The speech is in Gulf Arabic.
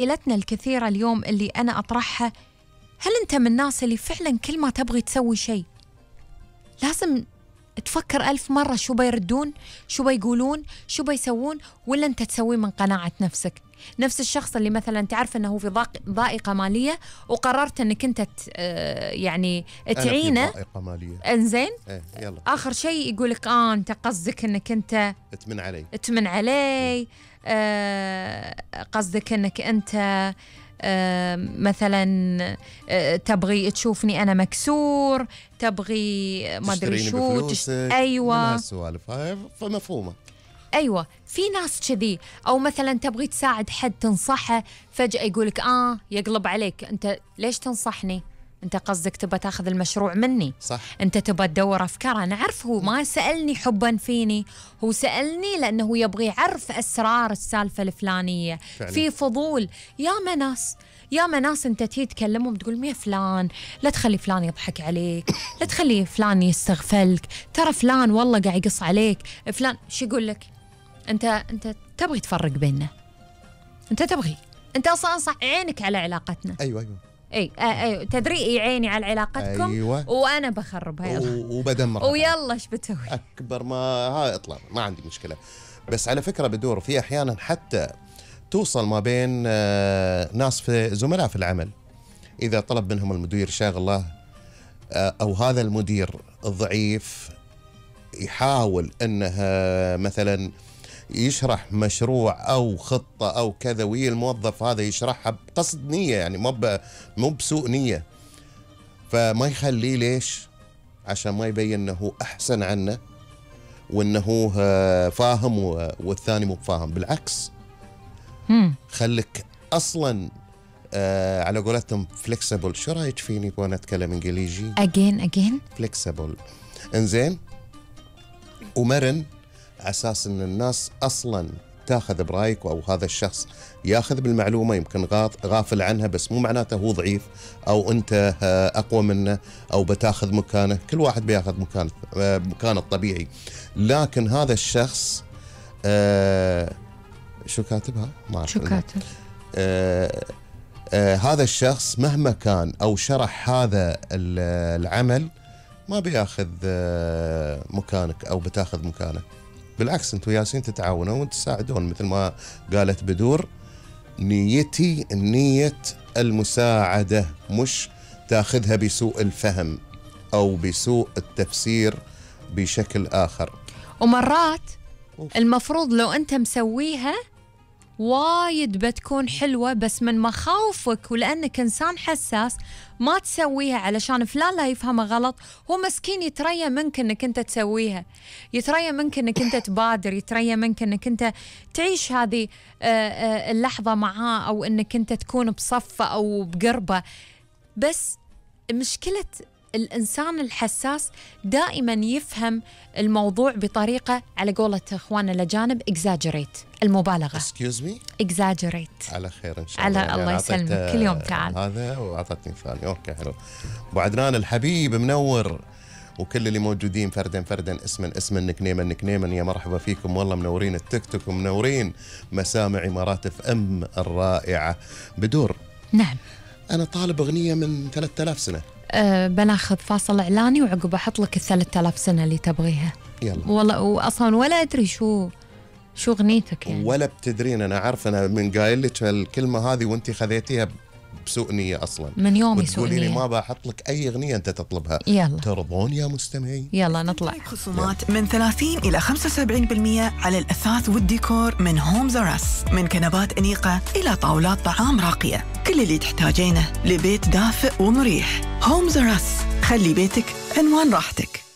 أسئلتنا الكثيرة اليوم اللي أنا أطرحها، هل أنت من الناس اللي فعلا كل ما تبغي تسوي شيء لازم تفكر 1000 مرة شو بيردون، شو بيقولون، شو بيسوون، ولا أنت تسوي من قناعة نفسك؟ نفس الشخص اللي مثلا تعرف أنه في ضائقة مالية وقررت أنك أنت يعني تعينه. أنا في ضائقة مالية. إنزين؟ يلا. آخر شيء يقولك أنت قصدك أنك أنت تمن علي. قصدك أنك أنت مثلا تبغي تشوفني أنا مكسور، تبغي ما أدري شو أيوة من هالسوالف هاي فمفهومة. أيوة، في ناس كذي. أو مثلا تبغي تساعد حد تنصحه، فجأة يقولك يقلب عليك، أنت ليش تنصحني؟ أنت قصدك تبى تاخذ المشروع مني. صح. أنت تبى تدور أفكار. أنا أعرف هو ما سألني حبا فيني، هو سألني لأنه يبغي يعرف أسرار السالفة الفلانية فعلا. في فضول. يا ناس أنت تيجي تكلمهم تقول يا فلان لا تخلي فلان يضحك عليك، لا تخلي فلان يستغفلك، ترى فلان والله قاعد يقص عليك، فلان شو يقول لك؟ أنت تبغي تفرق بيننا، أنت أصلا أنصح عينك على علاقتنا. أيوة أي تدري عيني على علاقتكم. أيوة. وأنا بخربها وبدمرها ويلا إيش بتسوي؟ أكبر ما هاي اطلع، ما عندي مشكلة. بس على فكرة بدور في أحيانا حتى توصل ما بين ناس في زملاء في العمل، إذا طلب منهم المدير شغله أو هذا المدير الضعيف يحاول أنه مثلا يشرح مشروع أو خطة أو كذا، وهي الموظف هذا يشرحها بقصد نية، يعني مو بسوء نية، فما يخليه. ليش؟ عشان ما يبين أنه أحسن عنه وأنه فاهم والثاني مو فاهم. بالعكس، خلك أصلا على قولتهم flexible. شو رأيك فيني وأنا أتكلم إنجليزي؟ again flexible. إنزين، ومرن، على أساس أن الناس أصلا تاخذ برأيك، أو هذا الشخص ياخذ بالمعلومة يمكن غافل عنها، بس مو معناته هو ضعيف أو أنت أقوى منه أو بتاخذ مكانه. كل واحد بياخذ مكانه الطبيعي. لكن هذا الشخص شو كاتبها؟ ما أعرف شو كاتب. هذا الشخص مهما كان أو شرح هذا العمل ما بياخذ مكانك أو بتاخذ مكانك. بالعكس، أنتوا ياسين تتعاونوا وتساعدون. مثل ما قالت بدور، نيتي نية المساعدة، مش تاخذها بسوء الفهم أو بسوء التفسير بشكل آخر. ومرات المفروض لو أنت مسويها وايد بتكون حلوة، بس من مخاوفك ولأنك إنسان حساس ما تسويها علشان فلان لا يفهمها غلط. هو مسكين يتريا منك أنك أنت تسويها، يتريا منك أنك أنت تبادر، يتريا منك أنك أنت تعيش هذه اللحظة معاه، أو أنك أنت تكون بصفة أو بقربة. بس مشكلة الإنسان الحساس دائما يفهم الموضوع بطريقة، على قولة إخواننا الأجانب exaggerate، المبالغة. Excuse me؟ exaggerate. على خير إن شاء الله. على الله يسلمك. كل يوم تعال. هذا وأعطتني ثاني. أوكي حلو. أبو عدنان الحبيب منور، وكل اللي موجودين فردا اسما نكنيما يا مرحبا فيكم. والله منورين التيك توك ومنورين مسامع إمارات FM الرائعة. بدور. نعم. أنا طالب أغنية من 3000 سنة. بناخذ فاصل إعلاني وعقب أحط لك 3000 سنة اللي تبغيها. يلا. والله وأصلا ولا أدري شو أغنيتك يعني. ولا بتدرين. أنا عارف، أنا من قايل لك الكلمة هذه وأنت خذيتيها بسوء نية أصلا. من يومي سوء نية. وتقولي لي ما بحط لك أي أغنية أنت تطلبها. يلا. ترضون يا مستمعين؟ يلا نطلع. خصومات من 30 إلى 75% على الأثاث والديكور من هومز أراس، من كنبات أنيقة إلى طاولات طعام راقية. كل اللي تحتاجينه لبيت دافئ ومريح. هومز أراس، خلي بيتك عنوان راحتك.